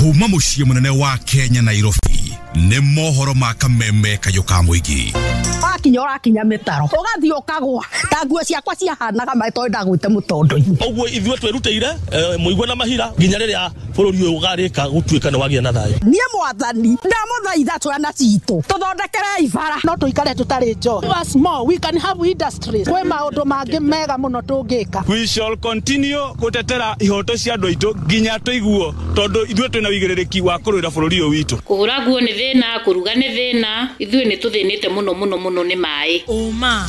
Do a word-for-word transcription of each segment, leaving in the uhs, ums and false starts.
Kuma muciĩ mũnene wa Kenya Nairobi nĩ mohoro ma kameme kayũ ka mũingĩ. Wakinya ũrakinya mĩtaro ũgathiĩ ũkagwa ta nguo ciakwa ciahanaga maĩ tondũ ndagwĩte mũtondo-inĩ. Ũguo ithuĩ twĩrutĩire mũigua na mahira nginya rĩrĩa bũrũri ũyũ ũgarĩka gũtuĩka nĩ wagĩa na thayũ. Niĩ mwathani ndamũthaitha twana citũ tũthondekere ibara no tũikare tũtarĩ njohi. Us more we can have industries. Kwĩ maũndũ mangĩ mega mũno tũngĩka. We shall continue gũtetera ihoto cia andũ aitũ nginya tũiguo tondũ ithuĩ twĩna wĩigĩrĩrĩki wa kũrũĩra bũrũri ũyũ witũ. Kũhũra nguo nĩ thĩna, kũruga nĩ thĩna, ithuĩ nĩ tũthĩnĩte mũno mũno mũno nĩ maĩ. Ũma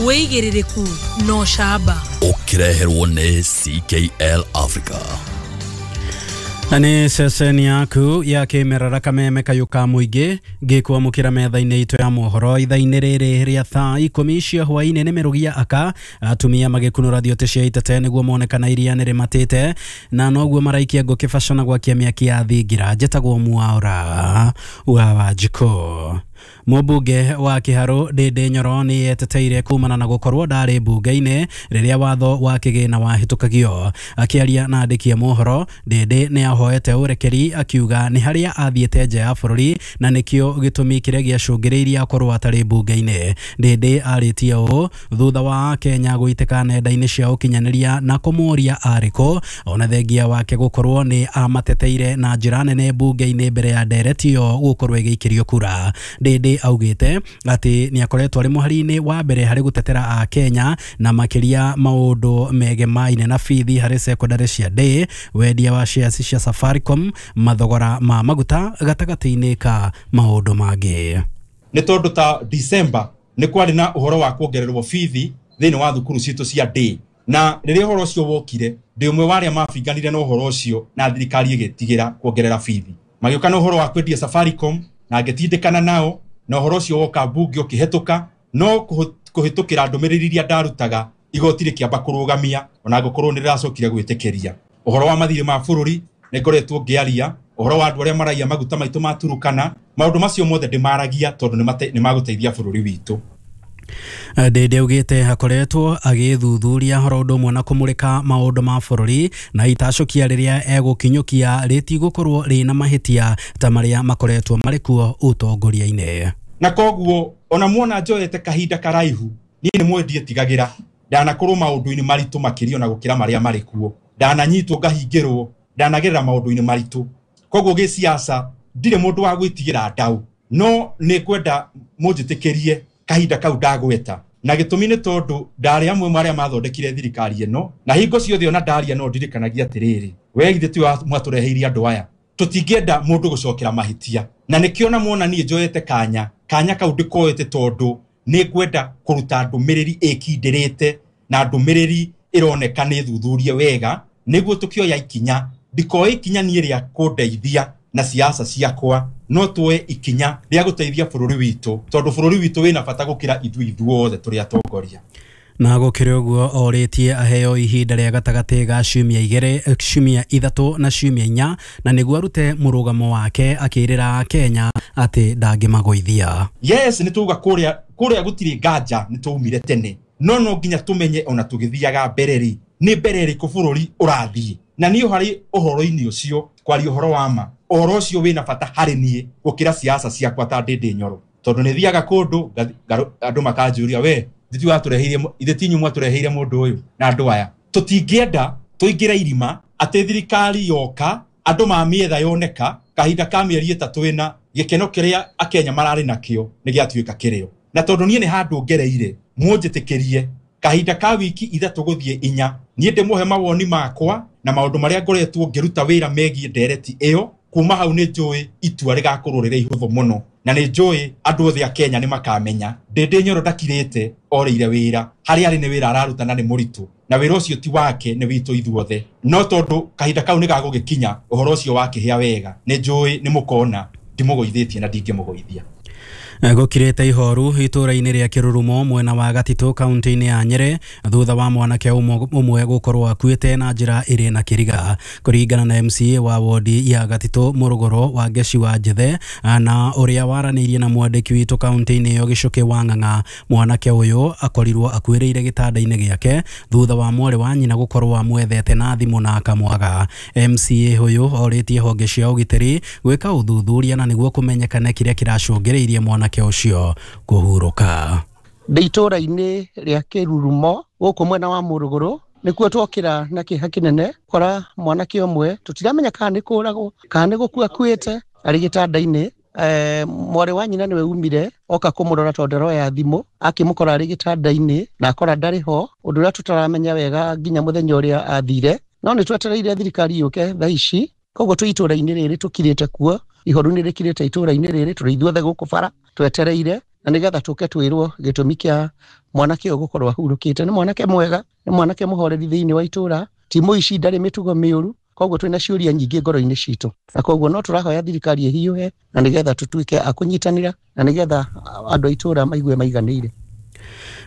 wĩigĩrĩrĩku na ũcamba ũkĩreherwo nĩ C K L Africa. Na nĩ ceceni yaku ya kĩmerera kameme kayũ ka mũingĩ ngĩkwamũkĩra metha-inĩ itũ ya mohoro ithaa-inĩ rĩrĩ rĩa thaa ikũmi cia hwaĩ-inĩ. Nĩ mĩrũgia aka atumia magĩkunũra thiote cia itete nĩguo mone kana iria nĩ rĩmatĩte na noguo maraikia ngũ kĩbaco na gwakia mĩaki ya thingira. Njĩtagwo Mwaura wa Wanjikũ. Mũmbunge wa Kĩharũ Ndĩndĩ Nyoro nĩ eteteire kumana na gũkorwo ndarĩ mbunge-inĩ rĩrĩa watho wa kĩgĩna wahĩtũkagio. Akĩaria na andĩki a mohoro, Ndĩndĩ nĩ ahoete ũrekeri akiuga nĩ harĩa athiĩte nja ya bũrũri na nĩkĩo gĩtũmi kĩrĩa gĩacũngĩrĩirie akorwo atarĩ mbunge-inĩ. Ndĩndĩ arĩtie ũũ thutha wa Kenya gũitĩka nenda-inĩ cia ũkinyanĩria na kũmũria arĩ kũ, ona thengia wake gũkorwo nĩ amateteire na njĩra nene mbunge-inĩ mbere ya ndereti ĩyo gũkorwo ĩgĩikĩrio kura. Ndĩndĩ augĩte atĩ nĩ akoretwo arĩ mũhari-inĩ wa mbere harĩ gũtetera a Kenya na makĩria maũndũ megemaine na bithi harĩ secondary cia day, wendia wa shares cia Safaricom, mathogora ma maguta gatagatĩ-inĩ ka maũndũ mangĩ. Nĩ tondũ ta December nĩ kwarĩ na ũhoro wa kuongererwo bithi thĩinĩ wa thukuru citũ cia day, na rĩrĩa ũhoro ũcio wokire ndĩ ũmwe wa arĩa mabinganire na ũhoro ũcio na thirikari ĩgĩtigĩra kuongerera bithi. Magĩũka na ũhoro wa kwendia Safaricom na ngĩtindĩkana nao na ũhoro ũcio woka mbunge ũkĩhetũka, no kũhĩtũkĩra ndũmĩrĩri iria ndarutaga igoti rĩkĩamba kũrũgamia ona ngũkorwo nĩ rĩracokire gwĩtĩkĩria. Ũhoro wa mathirĩ ma bũrũri nĩ ngoretwo ngĩaria, ũhoro wa andũ arĩa maraiya maguta maitũ ma Turukana, maũndũ macio mothe ndĩmaragia tondũ nĩ magũteithia bũrũri witũ. Ndĩndĩ augĩte akoretwo agĩthuthuria horo ũndũ ũmwe na kũmũrĩka maũndũ ma bũrũri na itacũkia rĩrĩa egũkinyũkia rĩtigũkorwo rĩna mahĩtia ta marĩa makoretwo marĩ kuo ũtongoria-inĩ. Na koguo ona muona njoete kahinda karaihu niĩ nĩ mũĩ ndiĩtigagĩra, ndanakorwo maũndũ-inĩ maritũ makĩria ona gũkĩra marĩa marĩ kuo, ndananyitwo ngahingĩrwo, ndanagerera maũndũ-inĩ maritũ. Koguo gĩciaca ndirĩ mũndũ wa gwĩtigĩra ndau, no nĩ ngwenda mũnjĩtĩkĩrie kahinda kau ndagweta na gĩtũmi nĩ tondũ ndarĩ amwe marĩa mathondekire thirikari ĩno na hingo ciothe ona ndaria no ndirikanagia atĩrĩrĩ, we githĩ tiwe mwatũreheire andũ aya, tũtingĩenda mũndũ gũcokera mahĩtia. Na nĩkĩo na muona niĩ njoete kanya kanya kau ndĩkoete tondũ nĩ ngwenda kũruta ndũmĩrĩri ĩkindĩrĩte na ndũmĩrĩri ĩroneka nĩ thuthurie wega nĩguo tũkĩoya ikinya. Ndikoe ikinya niĩ rĩa kũndeithia na siasa ciakwa, no tuoe ikinya rĩa gũteithia bũrũri witũ tondũ bũrũri witũ wĩna bata gũkĩra ithuĩ ithuothe tũrĩ atongoria. Na gũkĩrĩ ũguo orĩtie aheo ihinda rĩa gatagatĩ ga ciumia igĩrĩ, ciumia ithatũ na ciumia inya na nĩguo arute mũrũgamo wake akĩrĩra Kenya atĩ ndangĩmagũithia. Yes, nĩ tuga kũrĩa kũrĩa gũtirĩ nganja nĩ twaumire tene, no no nginya tũmenye ona tũgĩthiaga mbere rĩ nĩ mbere ĩrĩkũ bũrũri ũrathiĩ. Na niĩ harĩ ũhoro-inĩ ũcio kwaria ũhoro wa ma, ũhoro ũcio wĩna bata harĩ niĩ gũkĩra siasa ciakwa ta Ndĩndĩ Nyoro, tondũ nĩ thiaga kũndũ andũ makanjũria we ithuĩ watũreheire ithuĩ ti inyuĩ mwatũreheire mũndũ ũyũ na andũ aya. Tũtingĩenda tũingĩre irima atĩ thirikari yoka andũ mamĩetha yoneka kahinda ka mĩeri ĩtatũ ĩna gĩkeno kĩrĩa akenya mararĩ nakĩo nĩ gĩatuĩka kĩrĩo. Na tondũ niĩ nĩ handũ ngereire mũnjĩtĩkĩrie kahinda ka wiki ithatũ gũthiĩ inya niĩ ndĩmũhe mawoni makwa na maũndũ marĩa ngoretwo ngĩruta wĩra megiĩ ndereti ĩyo. Kuma hau nĩ njũĩ itua rĩgakorwo rĩrĩ ihũthũ mũno na nĩ njũĩ andũ othe a Kenya nĩ makamenya Ndĩndĩ Nyoro ndakirĩte orĩire wĩra harĩa arĩ nĩ wĩra araruta na nĩ mũritũ na wĩra ũcio ti wake nĩ witũ ithuothe, no tondũ kahinda kau nĩ gagũgĩkinya ũhoro ũcio wakĩhĩa wega nĩ njũĩ nĩ mũkona ndimũgũithĩtie na ndingĩmũgũithia. Gũkirĩte ihoru itũũra-inĩ rĩa Kĩrurumo mwena wa Gatitũ kaunti-inĩ ya Nyĩrĩ thutha wa mwanake ũmwe gũkorwo akuĩte na njĩra ĩrĩ na kĩriga. Kũringana na M C A wa wodi ya Gatitũ Mũrũgũrũ wa Ngeci wa Njethe na ũrĩa waranĩirie na mwandĩki witũ kaunti-inĩ ĩyo Gĩcũkĩ wa Ng'ang'a, mwanake ũyũ akorirwo akuĩrĩire gĩtanda-inĩ gĩake thutha wa mwarĩ wa nyina gũkorwo amwethete na thimũ na akamwaga. M C A ũyũ orĩtie honge cia ũgitĩri gwĩka ũthuthuria na nĩguo kũmenyekane kĩrĩa kĩracũngĩrĩirie mwanake ũcio kũhurũka. Ndĩ itũũra-inĩ rĩa Kĩrurumo gũkũ mwena wa Mũrũgũrũ nĩkuo twokĩra na kĩeha kĩnene kora mwanake ũmwe tũtiramenya kana nĩ kũragwo kana nĩ gũkua akuĩte arĩ gĩtanda-inĩ. Eh, mwarĩ wa nyina nĩwe umire oka kũmũrora tondũ ndaroya thimũ akĩmũkora arĩ gĩtanda-inĩ na akora ndarĩ ho, ũndũ ũrĩa tũtaramenya wega nginya mũthenya ũrĩa athire, no nĩ twetereire thirikari yũke thaa ici. Koguo twĩ itũũra-inĩ rĩrĩ tũkirĩte kuo, ihoru nĩ rĩkirĩte itũũra-inĩ rĩrĩ, tũrĩ ithuothe gũkũ bara twetereire na nĩgetha tũke twĩrwo gĩtũmi kĩa mwanake ũyũ gũkorwo ahurũkĩte. Nĩ mwanake mwega, nĩ mwanake mũhoreri thĩinĩ wa itũũra, ti mũici, ndarĩ mĩtugo mĩũru, koguo twĩna ciũria nyingĩ ngoro-inĩ citũ, na koguo no tũrahoya thirikari ĩhiũhe na nĩgetha tũtuĩke a kũnyitanĩra na nĩgetha andũ a itũũra maigue maiganĩire.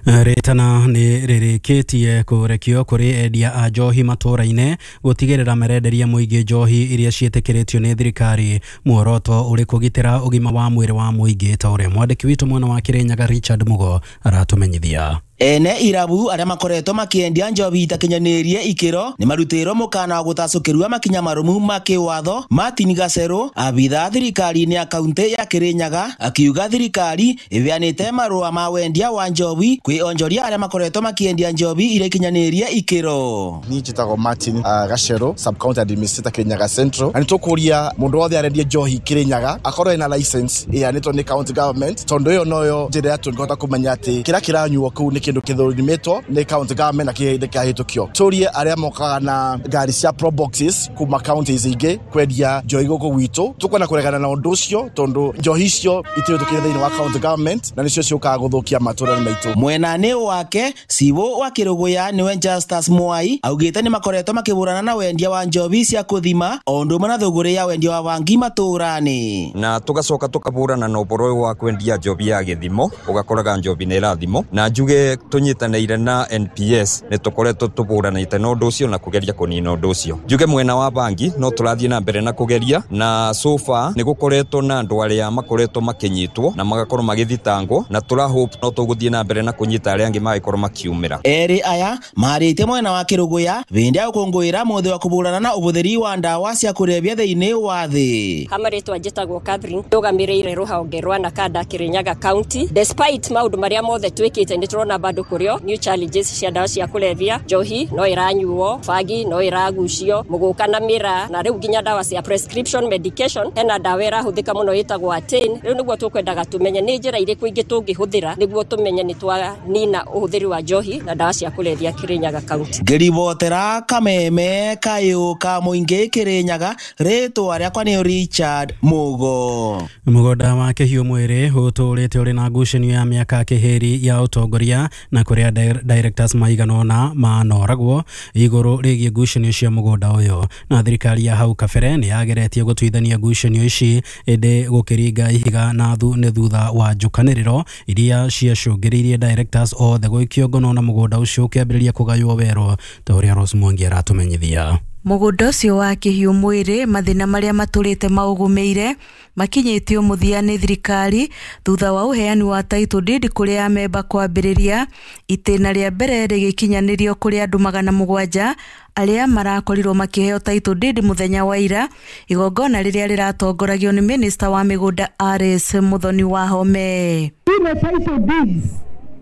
Rĩtana nĩ rĩrĩkĩtie kũrekio kũrĩ endia a njohi matũũra-inĩ gũtigĩrĩra marenderia mũingĩ njohi iria ciĩtĩkĩrĩtio nĩ thirikari, muoroto ũrĩ kũgitĩra ũgima wa mwĩrĩ wa mũingĩ ta ũrĩa mwandĩki witũ mwena wa Kĩrĩnyaga Richard Mugo aratũmenyithia. Ene irabu arĩa makoretwo makĩendia njohi itakinyanĩirie ikĩro nĩ marutĩirwo mũkana wa gũtacũkĩrua makinya marũmu ma kĩwatho. Martin Gacerũ, abithaa thirikari-inĩ ya kaunti ya Kĩrĩnyaga, akiuga thirikari ĩheanĩte marũa ma wendia wa njohi kwĩ onjoria arĩa makoretwo makĩendia njohi iria ikinyanĩirie ikĩro. Niĩ njĩtagwo Martin uh, Gacerũ, sub county administrator Kĩrĩnyaga Central, na nĩ tũkũria mũndũ wothe arendia njohi Kĩrĩnyaga akorwo ena license ĩheanĩtwo nĩ county government, tondũ ĩyo noyo njĩra ya tũngĩhota kũmenya atĩ kĩrĩa kĩranyuo kũu nĩ kĩndũ kĩthũrimĩtwo nĩ county government na kĩhĩndĩ kĩahĩtũkio. Tũrie arĩa mokaga na ngari cia pro boxes kuma counties ingĩ kwendia njohi gũkũ gwitũ, tũkwenda kũregana na ũndũ ũcio tondũ njohi icio itirĩtũkĩire thĩinĩ wa county government na nĩcio ciũkaga gũthũkia matũũra maitũ. Mwena-inĩ wake Cibũ wa Kĩrũgũya nĩwe Justus Mwai augĩte nĩ makoretwo makĩhũrana na wendia wa njohi cia kũthima o ũndũ ũmwe na thũgũrĩ ya wendia wa bangi matũũra-inĩ. Na tũgacoka tũkahũrana na ũhoro ũyũ wa kwendia njohi ya gĩthimo, ũgakoraga njohi nĩ ĩrathimwo, na njuge tũnyitanĩire na N P S nĩ tũkoretwo tũhũranĩte na ũndũ ũcio na kũgeria kũnina ũndũ ũcio. Njuge mwena wa bangi no tũrathiĩ na mbere na kũgeria, na so far nĩ gũkoretwo na andũ arĩa makoretwo makĩnyitwo na magakorwo magĩthitangwo, na tũra hope no tũgũthiĩ na mbere na kũnyita arĩa angĩ magĩkorwo makiumĩra. Erĩ aya marĩte mwena wa Kĩrũgũya hĩndĩ ya gũkũngũĩra mũthĩ wa kũhũrana na ũhũthĩri wa ndawa cia kũrebia thĩinĩ wa thĩ. Ha marĩtwa njĩtagwo Catherine, ndũgamĩrĩire rũhonge rwa Nakada Kĩrĩnyaga County. Despite maũndũ marĩa mothe twĩkĩte nĩ tũrona bado kũrĩo new challenges cia ndawa cia kũrebia, njohi no ĩranyuo, bangi no ĩragucio, mũgũka na mĩraa, na rĩu nginya ndawa cia prescription medication. Hena ndawa ĩrahũthĩka mũno ĩtagwo Atane. Rĩu nĩguo tũkwendaga tũmenye nĩ njĩra irĩkũ ingĩ tũngĩhũthĩra nĩguo tũmenye nĩ twanina ũhũthĩri wa njohi na ndawa cia kũrebia Kĩrĩnyaga County. Ngĩribotera Kameme kayũ ka mũingĩ Kĩrĩnyaga, rĩtwa rĩakwa nĩ Richard Mugo. Mũgũnda wa Kĩhiũ Mwĩrĩ ũtũũrĩte ũrĩ na ngucanio ya mĩaka kĩhĩri ya ũtongoria na kũrĩa directors maigana ũna manoragwo igũrũ rĩgiĩ ngucanio cia mũgũnda ũyũ, na thirikari ya hau kabere nĩ yageretie gũtuithania ngucanio ici ĩndĩ gũkĩringa ihiga na thu nĩ thutha wa njũkanĩrĩro iria ciacũngĩrĩirie directors othe gũikio ngono na mũgũnda ũcio ũkĩambĩrĩria kũgaywo werũ ta ũrĩa Rose Mwangi aratũmenyithia. Mũgũnda ũcio wa Kĩhiũ Mwĩrĩ mathĩna marĩa matũrĩte maũgũmĩire makinyĩtio mũthia nĩ thirikari thutha wa ũheani wa title deed kũrĩ amemba kwambĩrĩria itĩna rĩa mbere rĩgĩkinyanĩrio kũrĩ andũ magana mũgwanja arĩa marakorirwo makĩheo title deed mũthenya wa ira, igongona rĩrĩa rĩratongoragio nĩ minister wa mĩgũnda R S Muthoni Wahome. Ile title deeds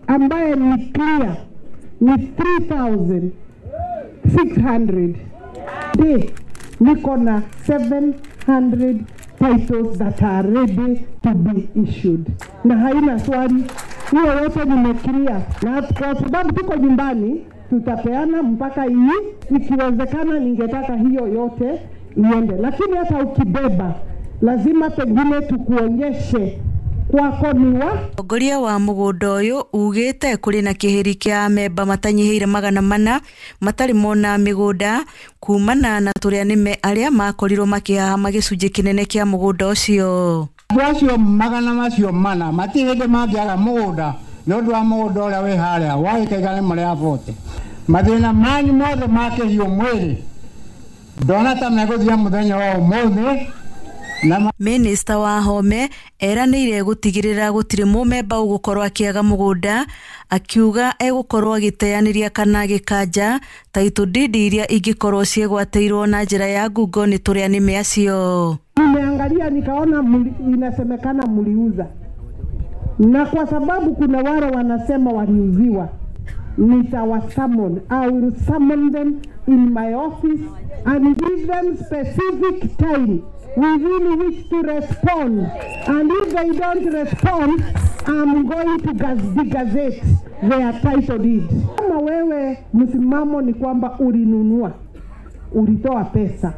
ambaye ni clear ni three thousand six hundred. Today, niko na seven hundred titles that are ready to be issued. Na haina swali, hiyo yote nimeclear. Na kwa sababu tuko nyumbani, tutapeana mpaka hii, ikiwezekana ningetaka hiyo yote iende. Lakini hata ukibeba, lazima pengine tukuonyeshe kwako ni wa Mũtongoria wa mũgũnda ũyũ ugĩte kũrĩ na kĩhĩri kĩa amemba matanyihĩire magana mana matarĩ mona mĩgũnda kumana na tũrĩa nĩme arĩa makorirwo makĩhahama gĩcunjĩ kĩnene kĩa mũgũnda ũcio. Andũ acio magana macio mana matirĩ hĩndĩ mangĩaga mũgũnda nĩ ũndũ wa mũgũnda ũrĩa wĩ harĩa wa ĩka igana rĩmwe rĩa bote. Mathĩna manyu mothe ma kĩhiũ mwĩrĩ ndona ta megũthira mũthenya wa ũmũthĩ. Minista Wahome eranĩire gũtigĩrĩra gũtirĩ mũmemba ũgũkorwo akĩaga mũgũnda, akiuga egũkorwo agĩteanĩria kana agĩkanja title deed iria ingĩkorwo ciĩgwatĩirwo na njĩra ya ngungo nĩ tũrĩa nĩme acio. Nimeangalia nikaona muli, inasemekana mliuza, na kwa sababu kuna wale wanasema waliuziwa, nitawasummon. I will summon them in my office and give them specific time within which to respond, and if they don't respond, I'm going to gazette their title deed. Kama wewe msimamo ni kwamba ulinunua, ulitoa pesa,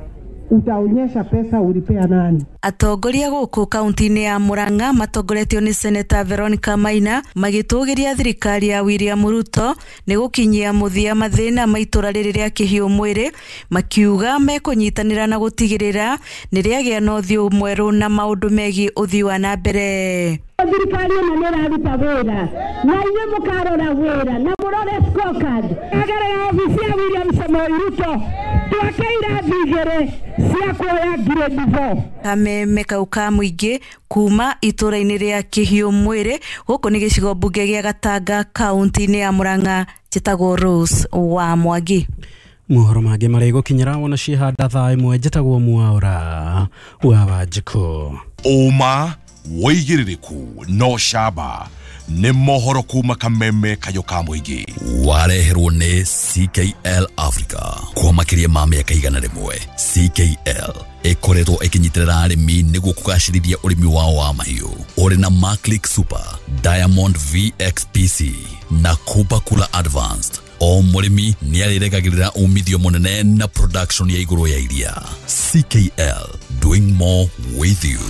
utaonyesha pesa ulipea nani? Atongoria gũkũ kaunti-inĩ ya Murang'a matongoretio nĩ Seneta Veronica Maina magĩtũgĩria thirikari ya William Ruto nĩ gũkinyia mũthia mathĩna ma itũra rĩrĩ rĩa kĩhiũ mwĩrĩ, makiuga mekũnyitanĩra na gũtigĩrĩra nĩ rĩagĩa na ũthiũ mwerũ na maũndũ megiĩ ũthii wa na mbere. Thirikari ĩno nĩ ĩraruta wĩra na inyuĩ mũkarora wĩra na mũrore scorecard. Agerera obici ya William Samoei Ruto twake irathi igĩrĩ cia kuoya grade four. Kameme kau ka mũingĩ kuma itũra-inĩ rĩa kĩhiũ mwĩrĩ gũkũ nĩ gĩcigo mbunge gĩa Gatanga kaunti-inĩ ya Murang'a, njĩtagwo Rose wa Mwangi. Mohoro mangĩ marĩ gũkinyĩra wona cihanda thaa ĩmwe, njĩtagwo Mwaura wa Wanjikũ. Ũma wĩigĩrĩrĩku no camba nĩ mohoro kuma kameme kayũ ka mũingĩ. Wareherwo nĩ C K L Africa kwa makĩria ma mĩaka igana rĩmwe. C K L ĩkoretwo ĩkĩnyitĩrĩra arĩmi nĩguo kũgacĩrithia ũrĩmi wao wa mahiũ. Ũrĩ na Maclick Super, Diamond V X P C na Kuba Kula Advanced. O mũrĩmi nĩ arĩregagĩrĩra umithio mũnene na production ya igũrũ ya iria. C K L, doing more with you.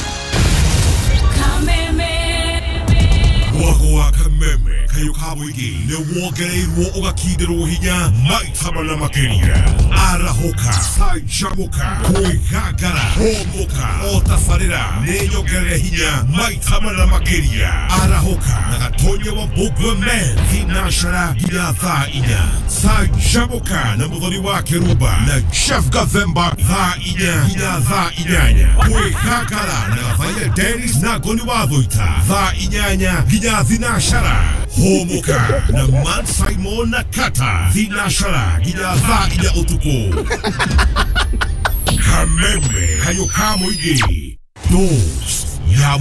Mwago wa kameme kayo ka mũingĩ nĩ wongereirwo ũgakindĩrwo hinya maita mana makĩria. Arahũka, canjamũka, kwĩgangara, hũmũka, o tabarĩra nĩ nyongerere hinya maita mana makĩria. Arahũka na Gatonya wa Mbũgua Men thinacara nginya thaa inya. Canjamũka na Mũthoni wa Kĩrumba na Jeff Gathemba thaa inya nginya thaa inyanya. Kwĩgangara na Gathaiya Dennis na Ngoni wa Thũita thaa inyanya nginya thinashara. Hũmũka na Man Simon na Kata thinashara nginya thaa inya ũtukũ. Kameme kayo ka mũingĩ. Dose ya